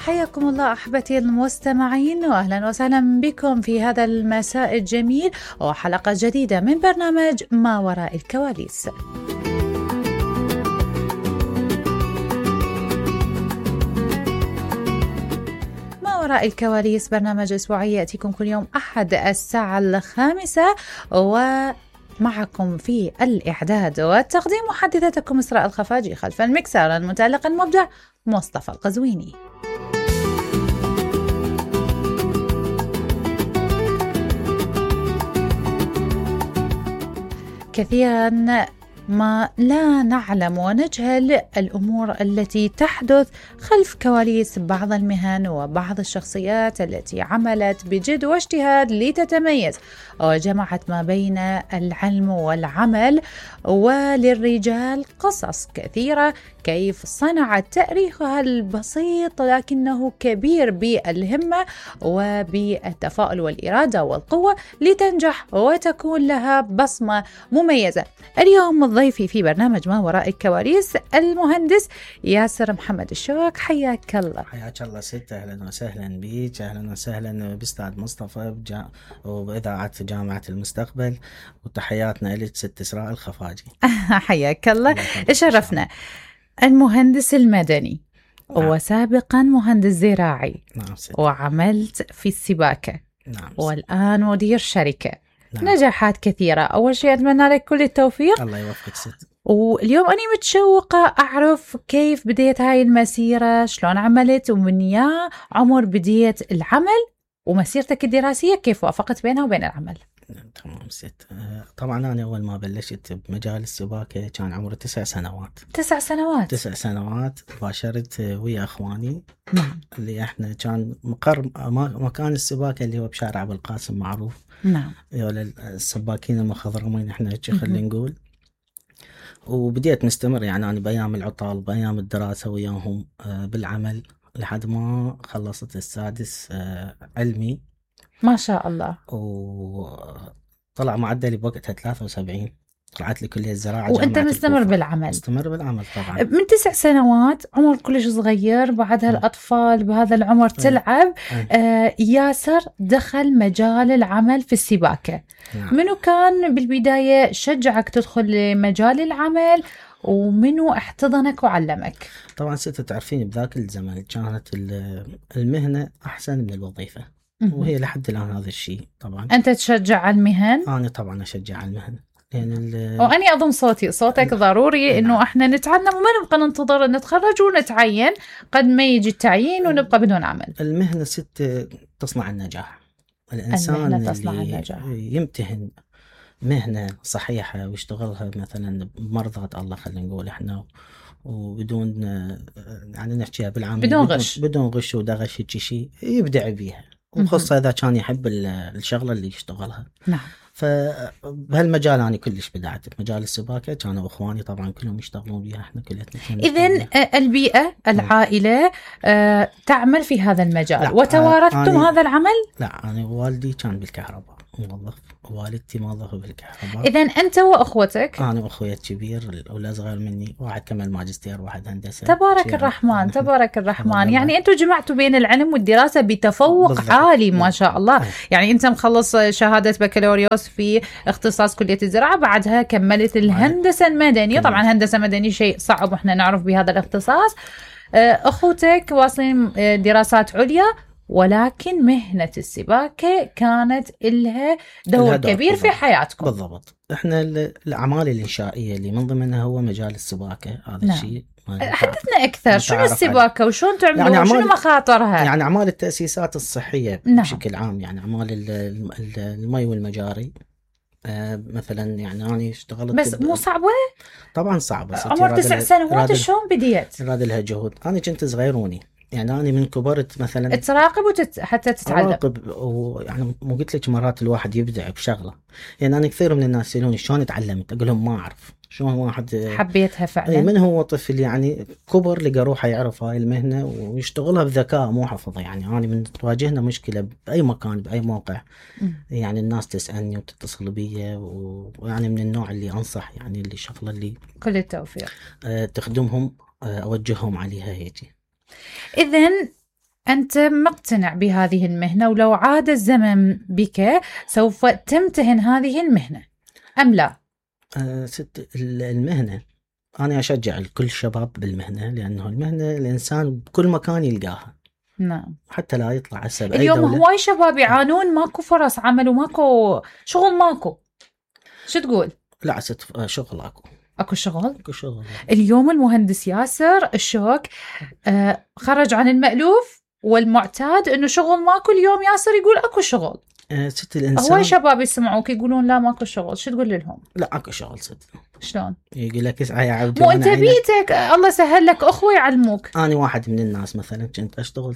حياكم الله أحبتي المستمعين، وأهلا وسهلا بكم في هذا المساء الجميل وحلقة جديدة من برنامج ما وراء الكواليس. ما وراء الكواليس برنامج أسبوعي يأتيكم كل يوم أحد الساعة 5، ومعكم في الإعداد والتقديم محدثتكم إسراء الخفاجي، خلف المكسر المتألق المبدع مصطفى القزويني. كثيرا ما لا نعلم ونجهل الأمور التي تحدث خلف كواليس بعض المهن وبعض الشخصيات التي عملت بجد واجتهاد لتتميز وجمعت ما بين العلم والعمل. وللرجال قصص كثيرة كيف صنعت تاريخها البسيط لكنه كبير بالهمة وبالتفاؤل والإرادة والقوة لتنجح وتكون لها بصمة مميزة. اليوم ضيفي في برنامج ما وراء الكواليس المهندس ياسر محمد الشوك. حياك الله. حياك الله ست، أهلا وسهلا بيك، أهلا وسهلا بأستاذ مصطفى وبإذاعة جامعة المستقبل، وتحياتنا لك ست إسراء الخفاجي. حياك الله، شرفنا. المهندس المدني وسابقا مهندس زراعي. نعم ست. وعملت في السباكة. نعم ست. والآن مدير شركة. نعم. نجاحات كثيرة. أول شيء أتمنى لك كل التوفيق. الله يوفقك ست. واليوم أنا متشوقة أعرف كيف بديت هاي المسيرة، شلون عملت، ومن يا عمر بديت العمل، ومسيرتك الدراسية كيف وافقت بينها وبين العمل. تمام ست. طبعا أنا أول ما بلشت بمجال السباكة كان عمري 9 سنوات. 9 سنوات. 9 سنوات باشرت ويا أخواني. نعم. اللي احنا كان مقر مكان السباكة اللي هو بشارع أبو القاسم معروف. نعم. السباكين المخضرمين احنا خلينا نقول. وبديت نستمر يعني أنا بأيام العطال بأيام الدراسة وياهم بالعمل لحد ما خلصت السادس علمي. ما شاء الله. وطلع معدلي بوقتها 73. طلعت لي كلية الزراعة. وأنت مستمر بالعمل؟ مستمر بالعمل طبعا. من 9 سنوات، عمر كلش صغير، بعدها الأطفال بهذا العمر تلعب. ياسر دخل مجال العمل في السباكة. منو كان بالبداية شجعك تدخل لمجال العمل، ومنو احتضنك وعلمك؟ طبعا ست، تعرفين بذاك الزمن كانت المهنة أحسن من الوظيفة، وهي لحد الآن هذا الشيء. طبعا أنت تشجع المهن؟ أنا طبعا أشجع المهن، يعني وأني أضم صوتك ضروري إنه إحنا نتعلم وما نبقى ننتظر نتخرج ونتعين قد ما يجي التعيين ونبقى بدون عمل. المهنة ست تصنع النجاح. الإنسان اللي يمتهن مهنة صحيحة ويشتغلها مثلا بمرضاة الله، خلينا نقول إحنا، وبدون يعني نحكيها بالعام بدون غش ودغش شيء، يبدع بيها، وخاصة إذا كان يحب الشغلة اللي يشتغلها. نعم. فبهالمجال أنا كلش بدعت بمجال السباكة، كانوا أخواني طبعا كلهم يشتغلون بيها، إحنا كلنا. إذن البيئة العائلة تعمل في هذا المجال وتوارثتم هذا العمل؟ لا، أنا والدي كان بالكهرباء موظف، والدتي موظفة بالكهرباء. إذن أنت وأخوتك؟ أنا وأخويا الكبير والأصغر مني، واحد كمل ماجستير واحد هندسة. تبارك الرحمن تبارك الرحمن. يعني أنتوا جمعتوا بين العلم والدراسة بتفوق بالضبط. عالي ما شاء الله. يعني أنت مخلص شهادة بكالوريوس في اختصاص كلية الزراعة، بعدها كملت الهندسة المدنية. طبعا هندسة مدني شيء صعب وإحنا نعرف بهذا الاختصاص. أخوتك واصلين دراسات عليا، ولكن مهنة السباكة كانت لها دور كبير في حياتكم. بالضبط. احنا الأعمال الإنشائية اللي من ضمنها هو مجال السباكة، هذا نعم. الشيء. حدثنا أكثر، شنو السباكة وشون تعملوها، يعني شنو مخاطرها؟ يعني أعمال التأسيسات الصحية. نعم. بشكل عام، يعني أعمال المي والمجاري. مثلا يعني أنا اشتغلت، بس مو صعبة؟ طبعا صعبة. عمر 9 سنوات شلون بديت؟ راد لها جهود. أنا كنت صغيروني، يعني أنا من كبرت مثلا تراقب حتى تتعلم. أراقب، ويعني مو قلت لك مرات الواحد يبدع بشغلة. يعني أنا كثير من الناس يسألوني شلون تعلمت، أقول لهم ما أعرف. شلون واحد حبيتها فعلا؟ من هو طفل يعني كبر لقى روحه يعرف هاي المهنة ويشتغلها بذكاء مو حفظه. يعني أنا من تواجهنا مشكلة بأي مكان بأي موقع، يعني الناس تسألني وتتصل بي، ويعني من النوع اللي أنصح، يعني اللي شغلة اللي كل التوفيق تخدمهم أوجههم عليها هيك. إذن أنت مقتنع بهذه المهنة، ولو عاد الزمن بك سوف تمتهن هذه المهنة أم لا؟ ست المهنة أنا أشجع كل الشباب بالمهنة، لأنه المهنة الإنسان بكل مكان يلقاها. نعم. حتى لا يطلع هسه بأي اليوم دولة. هواي شباب يعانون، ماكو فرص عمل وماكو شغل، ماكو. شو تقول؟ لا شغل اكو شغل. اكو شغل. اليوم المهندس ياسر الشوك خرج عن المألوف والمعتاد انه شغل ماكو. اليوم ياسر يقول اكو شغل. ست الانسان هواي شباب يسمعوك يقولون لا ماكو شغل، شو تقول لهم؟ لا اكو شغل ست. شلون؟ يقول لك اسعى يا عبد. مو انت بيتك الله سهل لك اخوه يعلموك. انا واحد من الناس مثلا كنت اشتغل،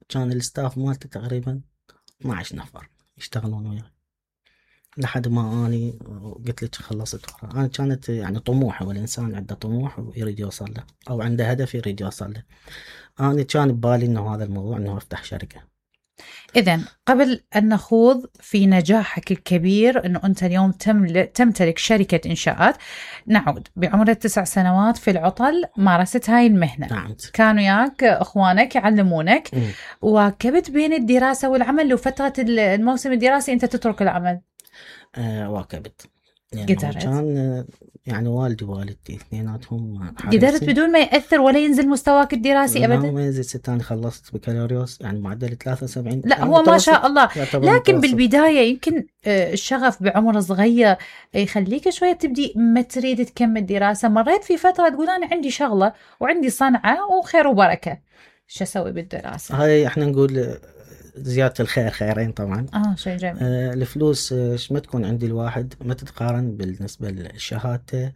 كان الستاف مالتي تقريبا 12 نفر يشتغلون وياي لحد ما اني قلت لك خلصت ورا. انا كانت يعني طموحي، والانسان عنده طموح ويريد يوصل له او عنده هدف يريد يوصل له. انا كان ببالي انه هذا الموضوع انه افتح شركة. إذن قبل أن نخوض في نجاحك الكبير أنه أنت اليوم تمتلك شركة إنشاءات، نعود بعمر 9 سنوات في العطل مارست هاي المهنة. نعم. كانوا ياك أخوانك يعلمونك. واكبت بين الدراسة والعمل، لو فترة الموسم الدراسي أنت تترك العمل؟ واكبت يعني كان يعني والدي ووالدتي اثنيناتهم قدرت بدون ما يأثر ولا ينزل مستواك الدراسي أبدا؟ لا ما ينزل ست. أنا خلصت بكالوريوس يعني معدل 73. لا هو ما شاء الله، لكن بالبداية يمكن الشغف بعمر صغير يخليك شوية تبدي ما تريد تكمل دراسة. مريت في فترة تقول أنا عندي شغلة وعندي صنعة وخير وبركة، شو أسوي بالدراسة؟ هاي احنا نقول زيادة الخير خيرين طبعا. شيء جميل. الفلوس ما تكون عند الواحد ما تتقارن بالنسبة لشهادته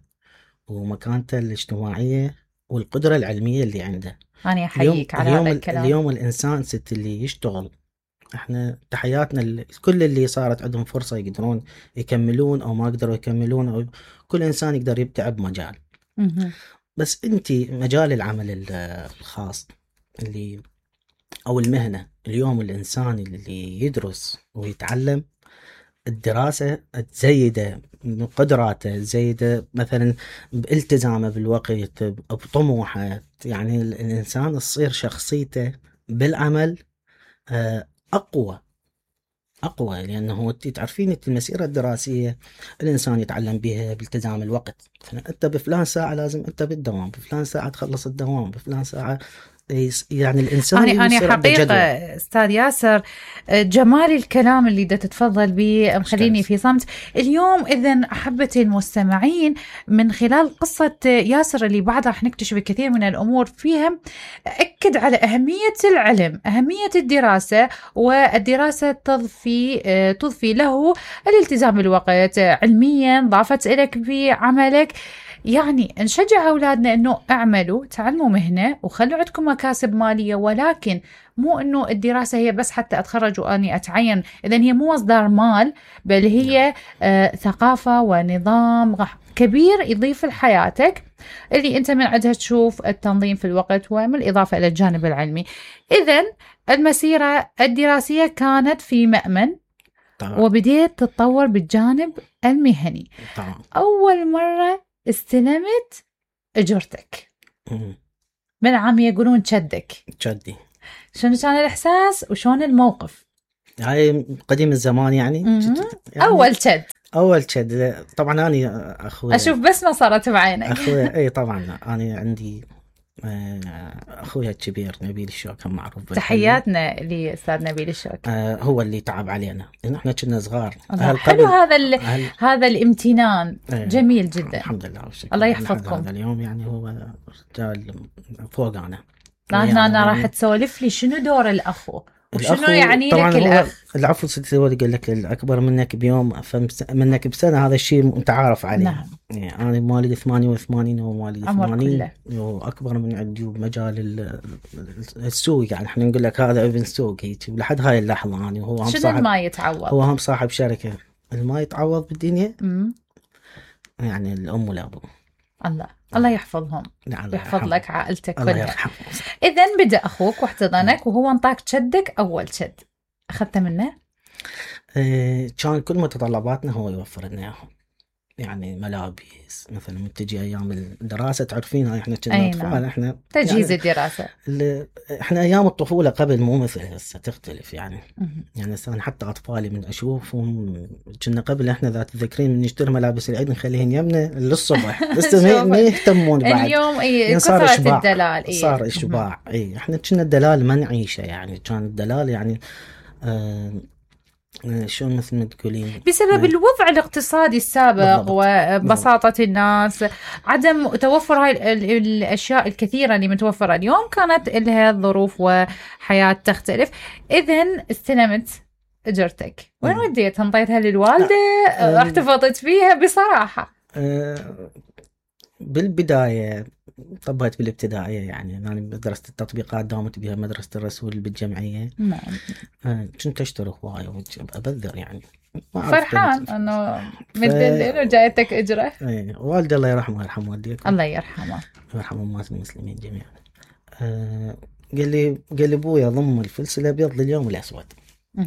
ومكانته الاجتماعية والقدرة العلمية اللي عنده. أنا أحييك على هذا الكلام. اليوم الإنسان ست اللي يشتغل، احنا تحياتنا كل اللي صارت عندهم فرصة يقدرون يكملون أو ما قدروا يكملون، أو كل إنسان يقدر يبدع بمجال. بس انتي مجال العمل الخاص اللي أو المهنة، اليوم الإنسان اللي يدرس ويتعلم الدراسة تزيده من قدراته، تزيده مثلا بالتزامه بالوقت بطموحه. يعني الإنسان تصير شخصيته بالعمل أقوى لأنه تعرفين المسيرة الدراسية الإنسان يتعلم بها بالتزام الوقت. أنت بفلان ساعة لازم أنت بالدوام، بفلان ساعة تخلص الدوام، بفلان ساعة. يعني الإنسان أنا حقيقة أستاذ ياسر جمال الكلام اللي دا تتفضل به مخليني في صمت اليوم. إذن أحبتي المستمعين، من خلال قصة ياسر اللي بعدها رح نكتشف كثير من الأمور فيها، أكد على أهمية العلم، أهمية الدراسة، والدراسة تضفي له الالتزام بالوقت علميا، ضافت إليك في عملك. يعني نشجع أولادنا أنه اعملوا، تعلموا مهنة وخلوا عندكم مكاسب مالية، ولكن مو أنه الدراسة هي بس حتى أتخرج وأني أتعين. إذن هي مو مصدر مال، بل هي ثقافة ونظام كبير يضيف لحياتك اللي أنت من عندها تشوف التنظيم في الوقت ومن الإضافة إلى الجانب العلمي. إذن المسيرة الدراسية كانت في مأمن طبعا. وبديت تتطور بالجانب المهني طبعا. أول مرة استلمت اجرتك من عم يقولون تشدي، شنو كان الاحساس وشون الموقف؟ هاي قديم الزمان يعني اول تشد طبعا. انا اخوي اشوف بس ما صارت بعينك. اخوي اي طبعا انا عندي اخويا الكبير نبيل الشوك معروف. تحياتنا لاستاذ نبيل الشوك. هو اللي تعب علينا إن احنا كنا صغار. حلو هذا الامتنان جميل جدا. الحمد لله والشكر. الله يحفظكم. هذا اليوم يعني هو رجال فوق انا. أنا راح تسولف لي شنو دور الأخو وشنو يعني لك الأخ. العفو ستي هو اللي قال لك الأكبر منك بيوم منك بسنة، هذا الشيء متعارف عليه. نعم. يعني أنا مواليد 88 وهو مواليد 80 وأكبر من عندي بمجال السوق. يعني احنا نقول لك هذا ابن سوق هيك لحد هاي اللحظة. يعني هو هم صاحب ما يتعوض، هو هم صاحب شركة. ما يتعوض بالدنيا يعني الأم والأبو. الله يحفظهم. نعم. يحفظ لك عائلتك كلها. إذن بدأ أخوك واحتضنك وهو انطاك تشدك أول تشد، أخذت منه؟ كان كل متطلباتنا هو يوفر لنا إياهم. يعني ملابس مثلا من تجي ايام الدراسه تعرفينها احنا كنا اطفال احنا تجهيز يعني الدراسه احنا ايام الطفوله قبل مو مثل هسه تختلف يعني يعني انا حتى اطفالي من اشوفهم كنا قبل احنا ذات تذكرين من نشتري ملابس العيد نخليهن يمنا للصبح بس ما يهتمون بعد اليوم يعني صار اشباع الدلال صار اشباع احنا كنا الدلال ما نعيشه يعني كان الدلال يعني شلون مثل ما تقولين بسبب الوضع الاقتصادي السابق بالضبط. وبساطة الناس عدم توفر هاي الأشياء الكثيرة اللي متوفرة اليوم كانت لها ظروف وحياة تختلف. إذن استلمت أجرتك وين وديتها؟ انطيتها للوالدة؟ احتفظت فيها بصراحة؟ بالبداية طبقت بالابتدائية يعني أنا مدرسة التطبيقات داومت بها مدرسة الرسول بالجمعية. كنت أشتري هواية وأبذر يعني فرحان أنه مدلل وجايتك أجرة. والدي الله يرحمه ويرحم والديك. الله يرحمه ويرحم أمات المسلمين جميعا. قال لي أبويا ضم الفلس الأبيض لليوم الأسود.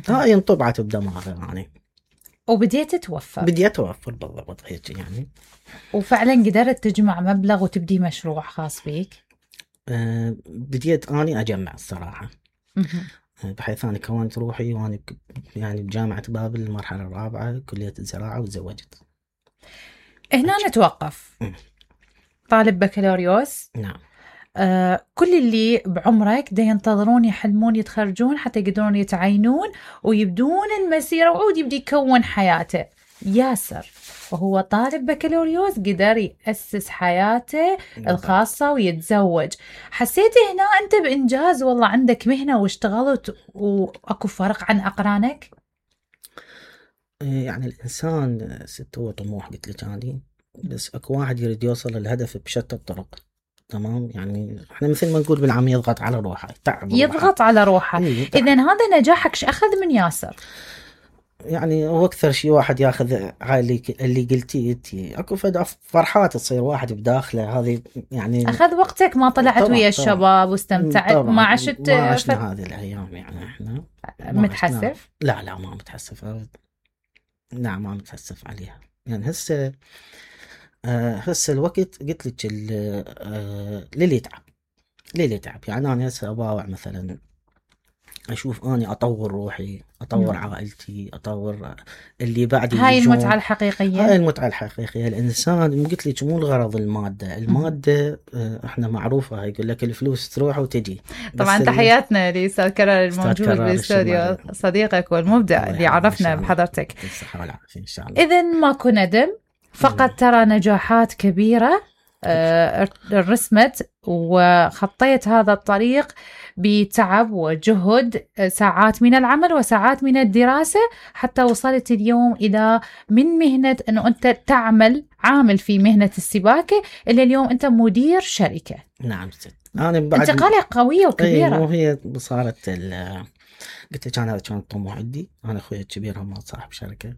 هاي انطبعت بدماغي يعني. وبديت توفر. بديت أوفر بالضبط هيك يعني. وفعلا قدرت تجمع مبلغ وتبدي مشروع خاص بيك؟ بديت أني أجمع الصراحة. بحيث أنا كونت روحي وأنا يعني بجامعة بابل المرحلة الرابعة كلية الزراعة وتزوجت. هنا نتوقف. طالب بكالوريوس. نعم. كل اللي بعمرك دا ينتظرون يحلمون يتخرجون حتى يقدرون يتعينون ويبدون المسيرة وعود يبدي يكون حياته. ياسر وهو طالب بكالوريوس قدر يأسس حياته الخاصة ويتزوج. حسيت هنا أنت بإنجاز والله عندك مهنة واشتغلت وأكو فرق عن أقرانك؟ يعني الإنسان ست هو طموح قلت لك يعني بس أكو واحد يريد يوصل للهدف بشتى الطرق. تمام يعني احنا مثل ما نقول بالعام يضغط على روحه تعب يضغط على روحه. إذن هذا نجاحك أخذ من ياسر يعني هو أكثر شيء واحد ياخذ اللي قلتي انتي اكو فرحات تصير واحد بداخله هذه يعني أخذ وقتك ما طلعت ويا الشباب واستمتعت ما عشت ما عشنا هذه الأيام يعني احنا متحسف؟ لا ما متحسف. نعم ما متحسف عليها يعني هسه الوقت قلت لك للي يتعب يعني أنا هسه أباوع مثلا أشوف أني أطور روحي أطور عائلتي أطور اللي بعدي. هاي المتعة الحقيقية. هاي المتعة الحقيقية. الإنسان قلت لك مو الغرض المادة إحنا معروفة يقول لك الفلوس تروح وتجي. طبعا تحياتنا لأستاذ كرار الموجود بالاستوديو صديقك والمبدع اللي عرفنا بحضرتك. الصحة والعافية إن شاء الله. إذن ماكو ندم فقط ترى نجاحات كبيرة رسمت وخطيت هذا الطريق بتعب وجهد ساعات من العمل وساعات من الدراسة حتى وصلت اليوم إلى من مهنة أنه أنت عامل في مهنة السباكة إلى اليوم أنت مدير شركة. نعم ست. أنا بعد انتقالة قوية وكبيرة. وهي صارت قلت لك أنا هذا كان طموح عندي. أنا أخوي الكبير هم صاحب شركة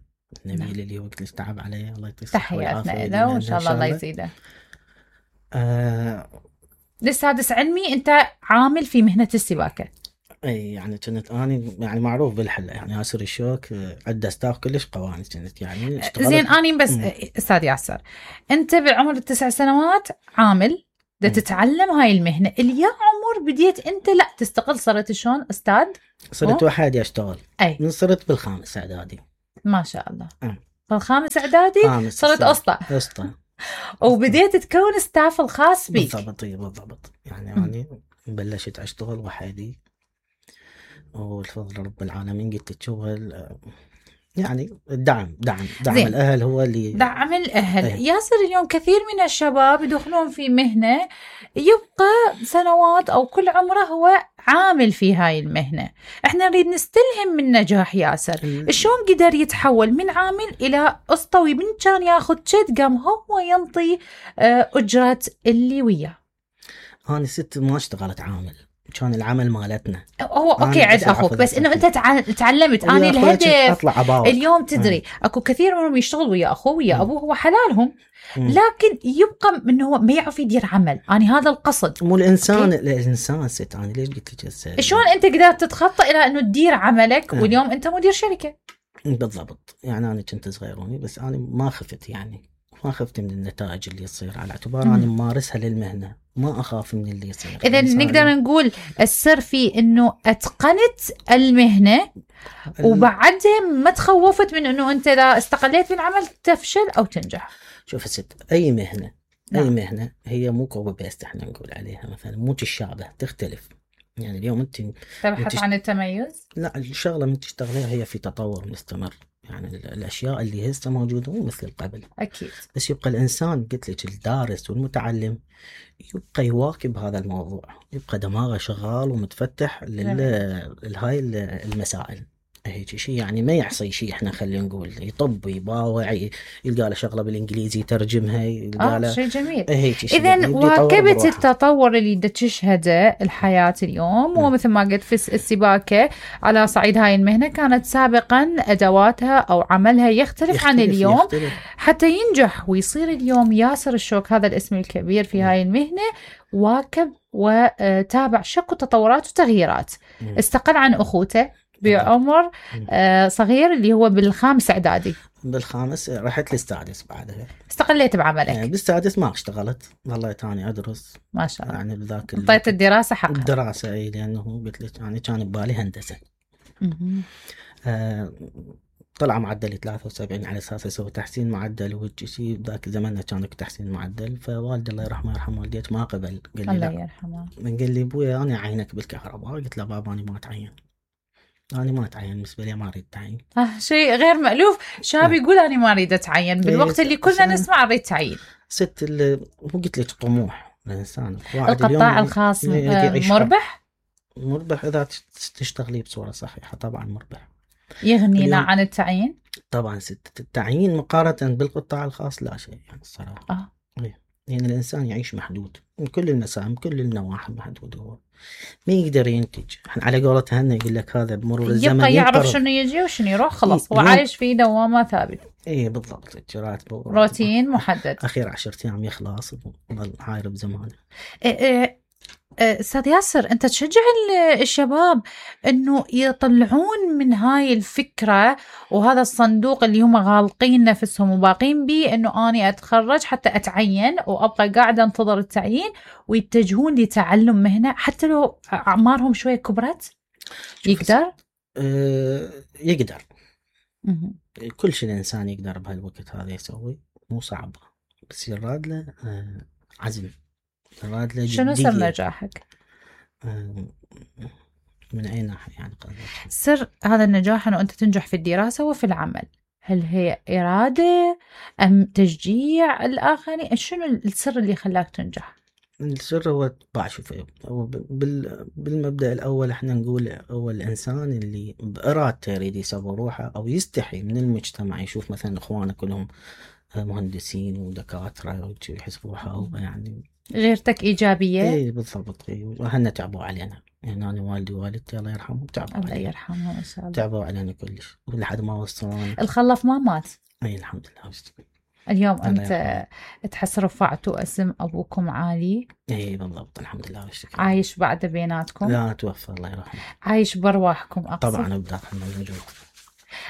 نبيل اللي وقت اللي تعب عليه الله يطيح الصحة والعافية. تحياتنا له وإن شاء الله يزيده. للسادس علمي أنت عامل في مهنة السباكة. أي يعني كنت أنا يعني معروف بالحلة يعني ياسر الشوك عدة ستاف كلش قواني كنت يعني زين أنا بس أستاذ ياسر أنت بعمر 9 سنوات عامل تتعلم هاي المهنة اللي يا عمر بديت أنت لا تستقل صرت شلون أستاذ؟ صرت وحدي أشتغل. من صرت بالخامس إعدادي. ما شاء الله. بالخامس إعدادي صرت أسطى. وبديت تكون ستاف الخاص بيك. بالضبط يعني بلشت أشتغل وحدي والفضل رب العالمين قلت الشغل يعني دعم الأهل هو اللي دعم الأهل. ياسر اليوم كثير من الشباب يدخلون في مهنة يبقى سنوات أو كل عمره هو عامل في هاي المهنة. احنا نريد نستلهم من نجاح ياسر شلون قدر يتحول من عامل إلى أسطوي من كان ياخذ شد قام هو ينطي أجرة اللي وياه. أنا ست ما اشتغلت عامل كان العمل مالتنا هو اوكي عد اخوك بس انه انت تعلمت اني الهدف اليوم تدري اكو كثير منهم يشتغل ويا اخوه ويا ابوه هو حلالهم لكن يبقى انه هو ما يعرف يدير عمل. انا هذا القصد مو الانسان ست. انا ليش قلت لك شلون انت قدرت تتخطى الى انه تدير عملك واليوم انت مدير شركه؟ بالضبط يعني انا كنت صغيروني بس انا ما خفت يعني ما خفت من النتائج اللي تصير، على اعتبار أنا ممارسها للمهنة، ما أخاف من اللي يصير. إذا نقدر نقول السر في إنه أتقنت المهنة وبعدها ما تخوفت من إنه أنت إذا استقليت من العمل تفشل أو تنجح. شوف ست، أي مهنة أي مهنة هي مو كوبي بيست، احنا نقول عليها مثلا مو تشابه، تختلف. يعني اليوم أنت تبحث عن التميز؟ لا، الشغلة من تشتغليها هي في تطور مستمر، يعني الأشياء اللي هسه موجودة مو مثل قبل أكيد. بس يبقى الإنسان قلت لك الدارس والمتعلم يبقى يواكب هذا الموضوع، يبقى دماغه شغال ومتفتح لهاي المسائل. هيك شيء يعني ما يحصي شيء، احنا خلينا نقول يطب يباوع يلقى له شغله بالانجليزي يترجمها، يلقى له شيء جميل. اذا واكبت التطور اللي تشهده الحياه اليوم، ومثل ما قلت في السباكه على صعيد هاي المهنه كانت سابقا ادواتها او عملها يختلف عن اليوم. حتى ينجح ويصير اليوم ياسر الشوك، هذا الاسم الكبير في هاي المهنه، واكب وتابع شك وتطورات وتغييرات. استقل عن اخوته بعمر صغير اللي هو بالخامس اعدادي. بالخامس رحت للسادس، بعدها استقليت بعملك. بالسادس ما اشتغلت، والله تاني ادرس ما شاء الله. يعني بذاك انطيت الدراسه حقها. الدراسه اي، لانه قلت لك يعني كان ببالي هندسه. طلع معدلي 73 على اساس اسوي تحسين معدل، وهيك شيء بذاك زماننا كان تحسين معدل. فوالدي الله يرحمه يرحم والديك ما قبل، قال لي الله يرحمه، قال لي ابويا انا اعينك بالكهرباء. قلت له بابا انا ما اتعين، أنا ما أتعين، بالنسبة لي ما أريد أتعين. شيء غير مألوف، شاب يقول أنا ما أريد أتعين بالوقت اللي كلنا نسمع أريد تعيين. ست مو قلت لك طموح الإنسان. القطاع الخاص مربح إذا تشتغلي بصورة صحيحة، طبعا مربح. يغنينا عن التعيين؟ طبعا ست، التعيين مقارنة بالقطاع الخاص لا شيء يعني الصراحة. يعني الإنسان يعيش محدود من كل المسام، كل النواحي محدود، هو ما يقدر ينتج. على قولة هنا يقول لك هذا بمرور الزمن يبقى يعرف شنو يجي وشنو يروح، خلاص هو عايش في دوامة ثابت. ايه بالضبط، راتبه روتين محدد، اخير 10 ايام يخلص وظل عايرب زمانه. استاذ ياسر، انت تشجع الشباب انه يطلعون من هاي الفكرة وهذا الصندوق اللي هم غالقين نفسهم وباقين بيه، انه اني اتخرج حتى اتعين وابقى قاعدة انتظر التعيين، ويتجهون لتعلم مهنة حتى لو اعمارهم شوية كبرت؟ يقدر؟ يقدر. كل شيء الانسان يقدر بهالوقت هذا يسوي، مو صعب بس يراد له عزم، يراد له جدية. شنو سر نجاحك؟ من اي ناحية يعني؟ سر هذا النجاح انه انت تنجح في الدراسة وفي العمل، هل هي إرادة ام تشجيع الاخرين؟ شنو السر اللي خلاك تنجح؟ السر هو شوف، هو بالمبدأ الأول احنا نقول هو الإنسان اللي بإرادته يريد يسوي روحه، أو يستحي من المجتمع يشوف مثلا إخوانه كلهم مهندسين ودكاترة ويحس روحه هو يعني غيرتك إيجابية. إيه بالضبط. وهنا تعبوا علينا، يعني أنا والدي ووالدتي الله يرحمهم تعبوا علينا. الله يرحمهم إن شاء الله. تعبوا علينا كلش لحد ما وصلنا. الخلف ما مات؟ أي الحمد لله. اليوم أنت تحس رفعتوا اسم أبوكم عالي. إيه بالضبط، الحمد لله والشكر. عايش بعد بيناتكم؟ لا توفى الله يرحمه. عايش برواحكم أقصد؟ طبعا بداخلنا موجود.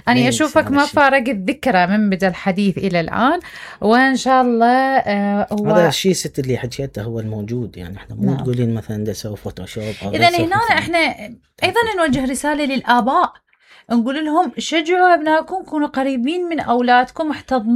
أنا أشوفك ما فارق الذكرى من بدأ الحديث إلى الآن، وإن شاء الله هو هذا الشيء ست اللي حكيته هو الموجود. يعني إحنا مو تقولين مثلا ده سوي فوتوشوب. إذا هنا إحنا أيضا نوجه رسالة للآباء، نقول لهم شجعوا أبنائكم، كونوا قريبين من أولادكم، احتضنوا